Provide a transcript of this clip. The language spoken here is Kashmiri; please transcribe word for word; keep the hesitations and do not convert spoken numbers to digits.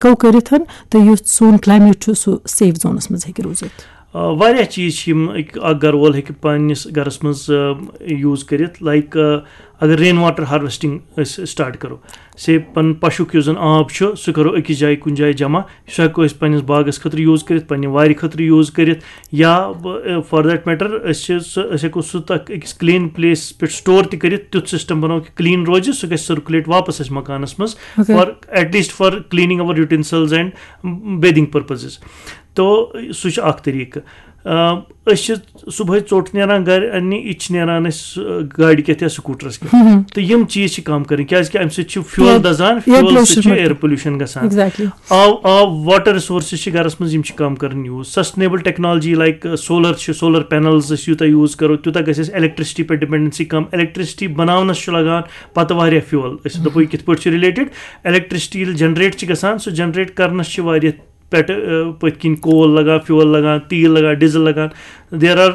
کو کٔرِتھ تہٕ یُتھ سون کلایمیٹ چھُ سُہ سیف زونَس منٛز ہیٚکہِ روٗزِتھ؟ آ، واریاہ چیٖز چھِ یِم أکۍ-، اکھ گرٕ وول ہیٚکہِ پننِس گرس منٛز یوٗز کٔرِتھ، لایک اگر رین واٹر ہارویسٹنگ أسۍ سٹارٹ کرو، سے پنُن پشُک یُس زن آب چھُ سُہ کرو أکِس جایہِ کُنہِ جایہِ جمع، سُہ ہیٚکو أسۍ پننِس باغس خٲطرٕ یوٗز کٔرِتھ، پننہِ وارِ خٲطرٕ یوٗز کٔرِتھ، یا فار دیٹ میٹر أسۍ چھِ سُہ، أسۍ ہیٚکو سُہ تتھ أکِس کلین پلیس پٮ۪ٹھ سٹور تہِ کٔرِتھ، تیُتھ سسٹم بناوو کہِ کلین روزِ، سُہ گژھِ سرکولیٹ واپس اَسہِ مکانس منٛز، Okay. For at least for cleaning اور یوٹینسلز اینڈ بیدنگ پرپزز۔ تو سُہ چھُ اکھ طریٖقہٕ۔ آ، أسۍ چھِ صُبحٲے ژوٚٹ نیران گرِ اننہِ، یہِ تہِ چھِ نیران أسۍ، آ، گاڑِ کٮ۪تھ یا سکوٗٹرس کٮ۪تھ۔ تہٕ یِم چیٖز چھِ کم کرٕنۍ، کیازِ کہِ امہِ سۭتۍ چھُ فیول Air- دزان، air فیول سۭتۍ pollution چھُ بڑان۔ ایئر پولوشن گژھان۔ Exactly. آب، آب، واٹر رِسورسز چھِ گرس منٛز، یِم چھِ کم کرٕنۍ use. Sustainable technology like solar چھِ، سولر پینلز أسۍ یوٗتاہ یوٗز کرو، تیوٗتاہ گژھِ اَسہِ الیکٹریسٹی پٮ۪ٹھ ڈِپینڈنسی کم۔ الیکٹریسٹی بناونس چھُ لگان پتہٕ واریاہ فیول۔ أسۍ دَپو یہِ کِتھ پٲٹھۍ چھُ رِلیٹڈ؟ الیکٹریسٹی ییٚلہِ جنریٹ چھِ گژھان، سُہ جنریٹ کرنس چھِ واریاہ پٮ۪ٹھٕ، آ، پٔتھۍ کِنۍ کول لگان، فیول لگان، تیٖل لگان، ڈیزل لگان۔ There are